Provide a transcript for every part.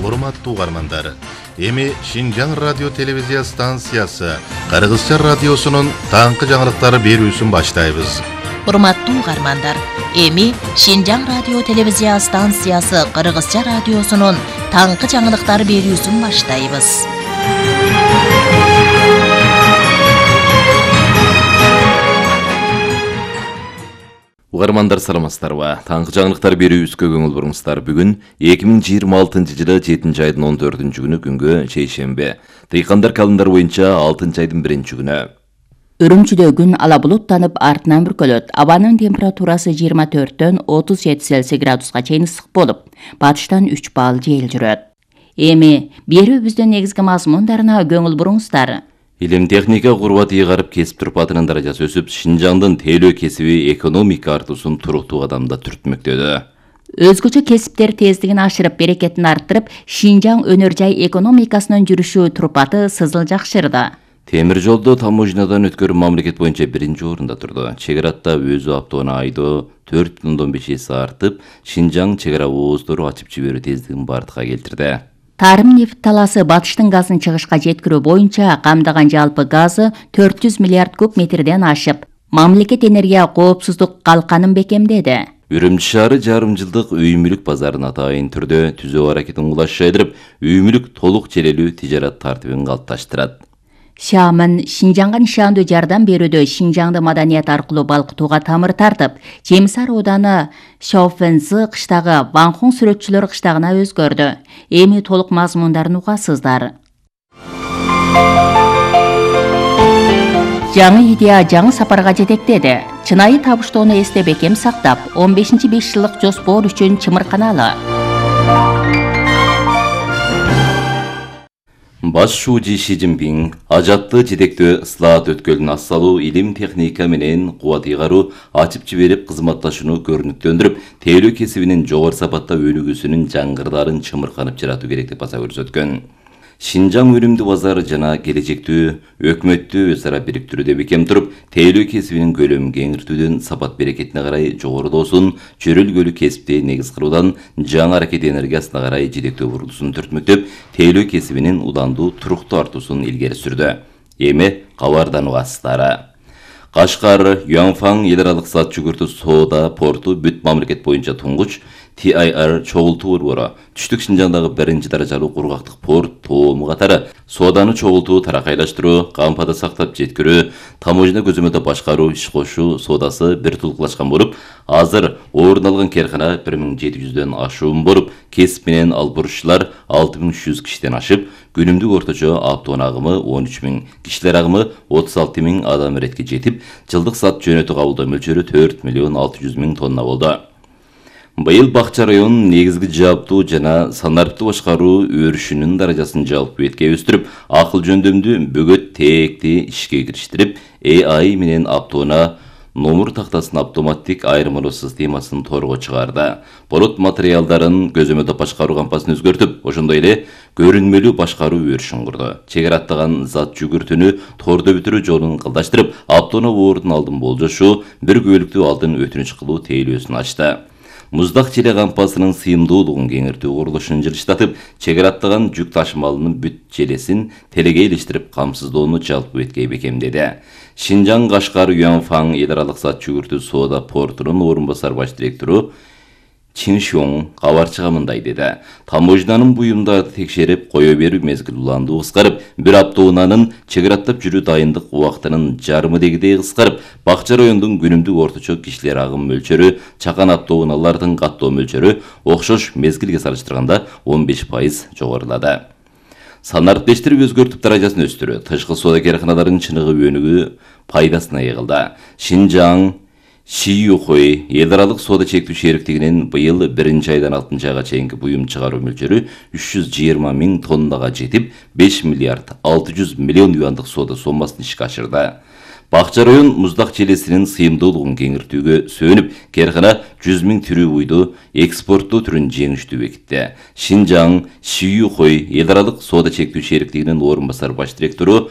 урматтуу угармандар. Эми Шинжаң радио телевизия станциясы Кыргызча радиосунун таңкы жаңылыктары берүүсүн баштайбыз. Урматтуу угармандар, эми Шинжаң радио телевизия станциясы Кыргызча радиосунун таңкы жаңылыктары берүүсүн баштайбыз. Угармандар саламатсыздарбы? Таңкы жаңылыктар берүүбүзгө көңүл буруңуздар. Бүгүн 2026-жылы 7 айдын 14-күнү күнгө чейшембе. Дыйкандар календар боюнча 6 айдын 1-күнү. Үрүмчүдө күн ала булуттанып артынан бүркөлөт. Абанын температурасы 24-төн 37 Цельсий градуска чейин ысык болуп, батыштан 3 балл жел жүрөт. Эми берүүбүздүн негизги мазмундарына көңүл буруңуздар. Илим техника курбат ыйгарып кесип турпатынын даражасы өсүп, Шинжаңдын тейлөө кесиби экономика артуусун туруктуу кадамда түртмөктөдө. Өзгөчө кесиптер тездигин ашырып, берекетин арттырып, Шинжаң өнөр жай экономикасынын жүрүшү турпаты сызыл жакшырды. Темир жолдо таможнядан өткөрүү мамлекет боюнча 1-орунда турду. Чек аратта өзү автоунаа айдоо 4,5 эсе артып, Шинжаң чек ара ооздору ачып жиберүү тездигин бардыкка келтирди. Тарым нефт таласы батыштын газын чыгышка жеткирүү боюнча камдаган жалпы газы 400 миллиард куб метрден ашып, мамлекет энергия коопсуздук калканын бекемдеди. Үрүмчү шаары жарым жылдык үй мүлүк базарын атайын түрдө түзөө аракетин улашчайдырып, үй мүлүк толук желелүү тижарат тартибин калыпташтырат. Шамын Шинжаңга нишандуу жардам берүүдө Шинжаңды маданият аркылуу балкытууга тамыр тартып, Жемисар ооданы Шауфензы кыштагы Ванхун сүрөтчүлөр кыштагына өзгөрдү. Эми толук мазмундарын угасыздар. Жаңы идея жаңы сапарга жетектеди. Чынайы табыштоону эсте бекем сактап, 15-5 жылдык жоспор үчүн чымырканалы. Баш шуучу Ши Цзиньпин ажатты жетектөө ыслаат өткөлүн ассалуу, илим техника менен кубат ыйгаруу ачып жиберип кызматташууну көрүнүктөндүрүп, тейлөө кесибинин жогору сапатта өнүгүүсүнүн жаңгырдарын чымырканып жаратуу керек деп баса көрсөткөн. Шинжаң өнүмдүү базары жана келечектүү өкмөттү өз ара бириктирүүдө бекем туруп, тейлөө кесибинин көлөмүн кеңиртүүдөн сапат берекетине карай жогорулоосун, чөрөлгөлүү кесипти негиз кылуудан жаңы аракет энергиясына карай жетектөө бурулуусун түртмөктөп, тейлөө кесибинин уландуу туруктуу артуусун илгери сүрдү. Эми кабардан угасыздар. Кашкар, Юанфан эл аралык зат жүгүртүү соода порту бүт мамлекет боюнча туңгуч TIR чогултуу борбору түштүк Шинжаңдагы 1-даражалуу кургактык порт тоому катары сооданы чогултуу, таракайлаштыруу, кампада сактап жеткирүү, таможня көзөмөлдө башкаруу, иш кошуу соодасы бир тулуклашкан болуп, азыр орун алган керкана 1700дөн ашуун болуп, кесип менен албурушчулар 6300 кишиден ашып, күнүмдүк орточо автоунаа агымы 13000, кишилер агымы 36000 адам иретке жетип, жылдык зат жөнөтүү кабылдоо мөлчөрү 4,6 миллион тонна болду. Быйыл Бакча районунун негизги жааптуу жана санариптүү башкаруу өрүшүнүн даражасын жалпы бетке өстүрүп, акыл жөндөмдүү бөгөт тээкти ишке кириштирип, AI менен автоунаа номер тактасынын автоматтик айырмалоо системасын торго чыгарды. Болот материалдарын көзөмөлдө башкаруу кампасын өзгөртүп, ошондой эле көрүнмөлүү башкаруу өрүшүн курду. Чек араттаган зат жүгүртүүнү тордо бүтүрүү жолун кылдаштырып, автоунаа оордун алдын болжошуу, бир күбөлүктүү алдын өтүнүч кылуу тейлөөсүн ачты. Муздак челе кампасынын сыйымдуулугун кеңиртүү курулушун жылыштатып, чек араттаган жүк ташымалынын бүт желесин телеге илиштирип камсыздоону жалпы бетке бекемдеди. Шинжаң Кашкар Юанфан эл аралык зат жүгүртүү соода портунун орун басар баш директору Чин Шуң кабарчыга мындай деди. Таможнянын буюмдарды текшерип кое берүү мезгили уландуу кыскарып, бир автоунаанын чек араттап жүрүү дайындык убактынын жарымы дегидей кыскарып, Бакча районунун күнүмдүк орточо кишилер агым мөлчөрү, чакан автоунаалардын каттоо мөлчөрү окшош мезгилге салыштырганда 15% жогорулады. Санариптештирип өзгөртүп даражасын өстүрүү, тышкы соода керканаларынын чыныгы өнүгүү пайдасына ыйылды. Шинжаң Шиюхой эл аралык соода чектүү шериктигинин быйыл 1-айдан 6-айга чейинки буюм чыгаруу мөлчөрү 320 000 тоннага жетип, 5 миллиард 600 миллион юандык соода сомасын ишке ашырды. Бакча район муздак челесинин сыйымдуулугун кеңиртүүгө сөнүп, керкана 100 000 түрүү буйду экспорттоо түрүн жеңиштүү бекитти. Шинжаң Шиюхой эл аралык соода чектүү шериктигинин орун басар баш директору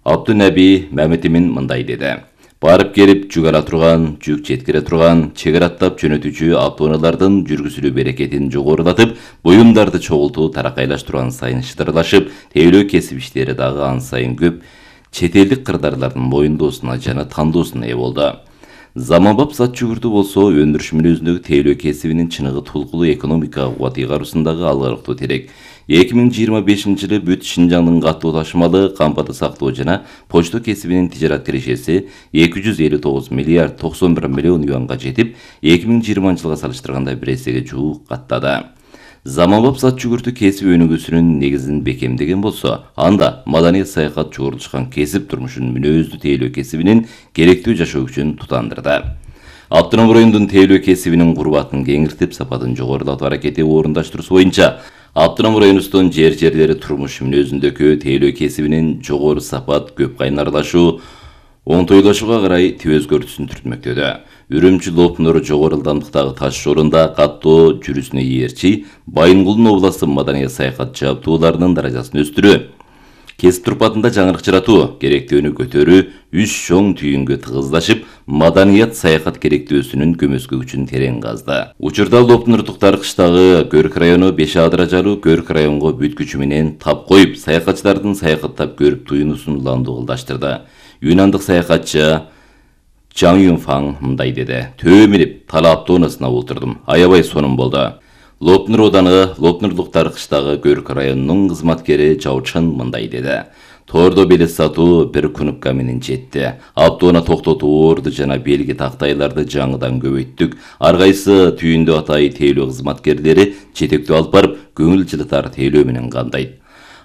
Абдунаби Мамедимин мындай деди. барып келип жүк ала турган, жүк жеткире турган, чек аттап жөнөтүүчү автоунаалардын жүргүзүлүү берекетин жогорулатып, буюмдарды чогултуу таракайлаштырган сайын шыдырлашып, тейлөө кесип иштери дагы ан сайын көп чет элдик кырдаарлардын моюндоосуна жана тандоосуна ээ болду. Заманбап зат жүгүртүү болсо өндүрүш мүнөзүндөгү тейлөө кесибинин чыныгы тулкулуу экономика кубат ыйгаруусундагы алгарыктуу терек. 2025-жылы бүт Шинжаңдын каттуу ташымалы, кампаты сактоо жана почта кесибинин тижарат кирешеси 259 миллиард 91 миллион юанга жетип, 2020-жылга салыштырганда бир эсеге жуук каттады. Заманбап зат жүгүртүү кесип өнүгүүсүнүн негизин бекемдеген болсо, анда маданият саякат жогорулушкан кесип турмушун мүнөздүү тейлөө кесибинин керектүү жашоо үчүн тутандырды. Автоном райондун тейлөө кесибинин курбатын кеңиртип, сапатын жогорулатуу аракети орундаштыруусу боюнча автоном районубуздун жерлери турмуш мүнөзүндөгү тейлөө кесибинин жогору сапат, көп кайнарлашуу, оңтойлашууга карай тип өзгөртүүсүн түртмөктөдө. Үрүмчү Лопнур жогору ылдамдыктагы таш жолунда каттоо жүрүүсүнө ийерчи, Байынгулдун областы маданият саякат жабдууларынын даражасын өстүрүү, кесип турпатында жаңырык жаратуу, керектөөнү көтөрүү, үч чоң түйүнгө тыгыздашып, маданият саякат керектөөсүнүн көмөскө күчүн терең казды. Учурда Лопнурлуктар кыштагы Көрк району 5А даражалуу Көрк районго бүт күчү менен тап коюп, саякатчылардын саякаттап көрүп туюнуусун уланды кылдаштырды. Юнандык саякатчы Чаң Юнфаң мындай деди: "Төө минип, Тала автоунаасына отурдум. Аябай сонун болду." Лопнур ауданы Лопнурлуктар кыштагы Көрк районунун кызматкери Жаучан мындай деди: "Тордо билет сатуу 1 кнопка менен жетти. Автоуна токтотуу орду жана белги тактайларды жаңыдан көбөйттүк. Ар кайсы түйүндө атай тейлөө кызматкерлери жетектөө алып барып, көңүл жылытар тейлөө менен кандайт.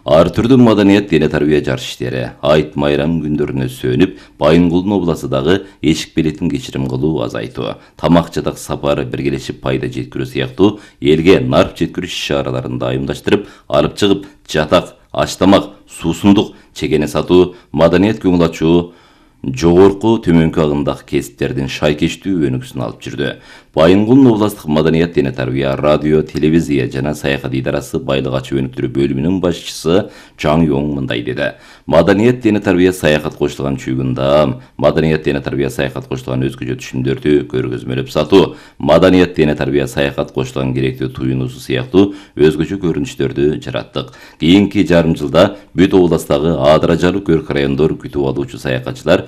Ар түрдүү маданият дене тарбия жарыш иштери айт майрам күндөрүнө сөнүп, Байынгулдун областындагы эшик билетин кечирим кылуу, азайтуу, тамак жадак сапары биргелешип пайда жеткирүү сыяктуу элге нарп жеткирүү иш-чараларын дайымдаштырып, алып чыгып, жатак, аш тамак, суусундук, чегене сатуу, маданият көңүл ачуу, жогорку төмөнкү агымдагы кесиптердин шайкештүү өнүгүүсүн алып жүрдү. Байынгулдун областтык маданият дене тарбия, радио, телевизия жана саякат идарасы байлык ачуу өнүктүрүү бөлүмүнүн башчысы Чаң Юң мындай деди: "Маданият дене тарбия саякат кошулган чүйгүндө, маданият дене тарбия саякат кошулган өзгөчө түшүмдөрдү көргөзмөлөп сатуу, маданият дене тарбия саякат кошулган керектүү туюнуусу сыяктуу өзгөчө көрүнүштөрдү жараттык. Кийинки жарым жылда бүт областагы А даражалуу Көрк райондор күтүп алуучу саякатчылар